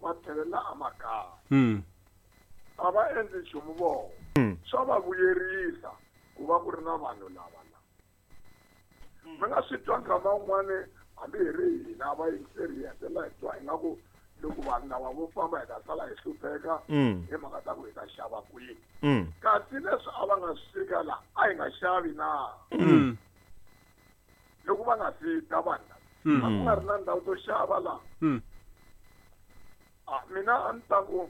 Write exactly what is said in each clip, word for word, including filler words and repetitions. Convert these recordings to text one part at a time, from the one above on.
Va tlhelela emakaya. Mm. A va endli nchumu vona. Swa va vuyerisa ku va ku ri na vanhu lava la. Mi nga swi twa nkama wun'wani hambi hi ri hina vayingiseri hi hetelela hi twa ingaku loko vanhu lava vo famba hi ta sala hi hlupheka hi mhaka ta ku hi ta xava kwini. Kasi leswi a va nga swi fika la a hi nga xavi na. Loko va nga si ta vanhu lava a ku nga ri na ndhawu to xava la. A mina a ni ta ku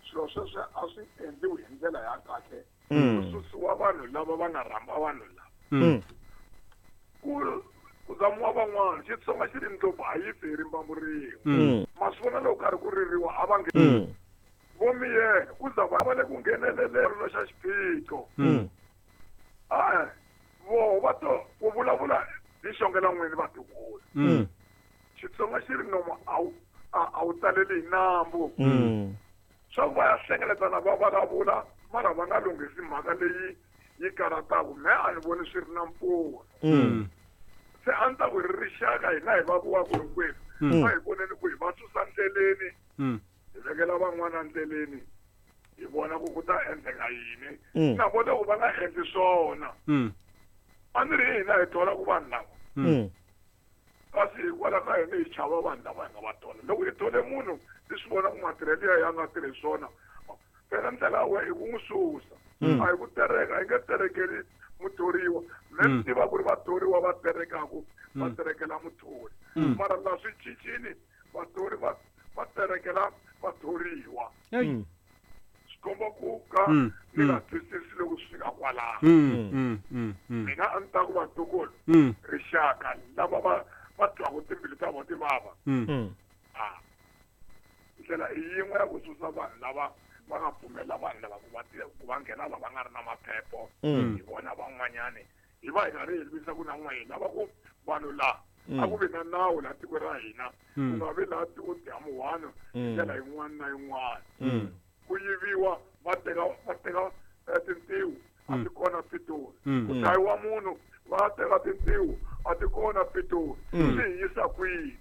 swilo sweswo a swi endliwi hi ndlela ya kahle. Ku susiwa vanhu lava va nga rhamba vanhu lava. Ku ku zamiwa van'wana Xitsonga xi ri ndlopfu a yi fi hi rimbambu rin'we. Ma swi vona loko karhi ku ririwa a va nge vo miyela ku za va va le ku ngheneleleni xa xiphiqo. E-e voho va to ku vulavula hi xongela n'wini vatukulu. Xitsonga xi ri nomu a wu a wu taleli hi nambu. Swa ku va ya hlengeletana va vulavula mara va nga lunghisi mhaka leyi yi karhataka me a ni voni swi ri na mpfuno. Se a ni ta ku ri rixaka hina hi va vuwaka hinkwenu a hi voneni ku hi va susa ndleleni hi vekela van'wana ndleleni hi vona ku ku ta endleka yini. Na vona ku va nga endli swona a ni ri hina hi thola ku vanhu lava kasi hikwalaho ka hina hi chava vanhu lava hi nga va thola. Loko hi thole munhu hi swi vona ku matirhelo ya ya nga tirhi swona phela ndlela ya wena i ku n'wi susa. A hi ku tereka hi nge terekeli muthoriwa. Me ni tiva ku ri vathoriwa va terekaku va terekela muthori. Mara la swi cincile vathori va va terekela vathoriwa. Swi komba ku ka ni nga twisisi loko swi fika kwalaho. Mina a ni ta ku vatukulu rixaka lava va va twaku timbilu ta vona ti vava. A ndlela i yin'we ya ku susa vanhu lava va nga pfumela vanhu lava ku va ku va nghena lava nga ri na maphepho hi vona van'wanyani hi va hi karhi hi lwisa ku na n'we hi lava ku vanhu la a ku vi na nawu laha tikweni ra hina ku nga vi laha tiko dya hi ndlela yin'wana na yin'wana. Ku yiviwa va teka va teka tintiho a ti kona Pitori. Ku dlayiwa munhu va teka tintiho a ti kona Pitori. Swi hi yisa kwihi?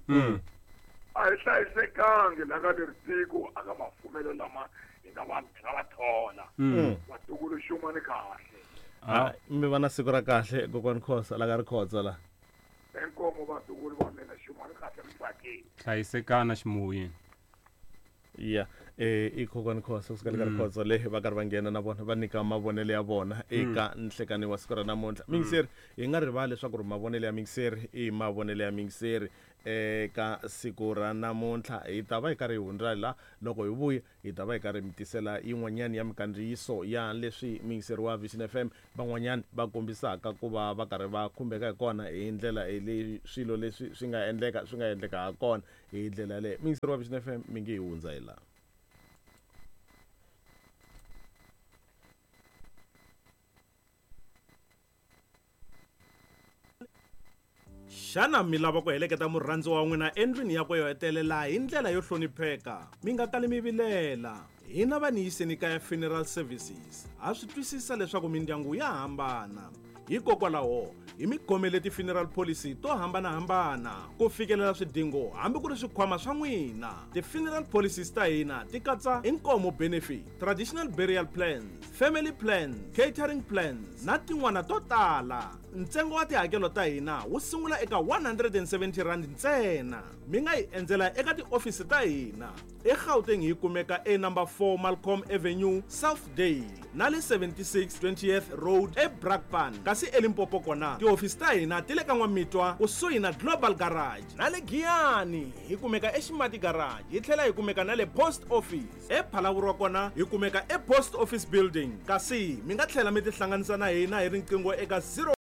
A hi hlayisekangi la ka leri tiko a ka mafumelo lama hi nga va hi nga va thola. Vatukulu xumani kahle. A mi va na siku ra kahle kokwani Khosa la ka Rikhotso la. Inkomo vatukulu va mina xumani kahle mi tsakile. Hlayisekana ximoyeni. Ya eh i kokwani Khosa kusuka le ka Rikhotso le va karhi va nghena na vona va nyika mavonelo ya vona eka nhlekani wa siku ra namuntlha. Mingiseri hi nga rivali leswaku ri mavonelo ya mingiseri i mavonelo ya mingiseri eka siku ra namuntlha. Hi ta va hi karhi hi hundza la loko hi vuya hi ta va hi karhi mi tisela yin'wanyani ya mikandziyiso ya leswi mingiseri wa Vision F M van'wanyani va kombisaka ku va va karhi va khumbeka hi kona hi ndlela leyi swilo leswi swi nga endleka swi nga endleka ha kona hi ndlela yaleyo. Mingiseri wa Vision F M mi nge hi hundza hi laha. Xana mi lava ku heleketa murhandziwa wa n'wina endlwini yakwe yo hetelela hi ndlela yo hlonipheka? Mi nga kali mi vilela. Hina va ni yiseni kaya Funeral Services ha swi twisisa leswaku mindyangu ya hambana. Hikokwalaho hi mi khomele ti-funeral policy to hambanahambana ku fikelela swidingo hambi ku ri swikhwama swa n'wina. Ti-funeral policies ta hina ti katsa inkomo benefit, traditional burial plans, family plans, catering plans na tin'wana to tala. Ntsengo wa tihakelo ta hina wu sungula eka one hundred and seventy rand ntsena. Mi nga hi endzela eka tiofisi ta hina eGauteng hi kumeka e number four Malcolm Avenue, Southdale na le seventy-six twentieth Road eBrakpan. Kasi eLimpopo kona tiofisi ta hina ti le ka N'wamitwa kusuhi na Global Garage na le Giyani hi kumeka eXimati Garage hi tlhela hi kumeka na le Post Office. ePhalaborwa kona hi kumeka ePost Office Building. Kasi mi nga tlhela mi tihlanganisa na hina hi riqingho eka zero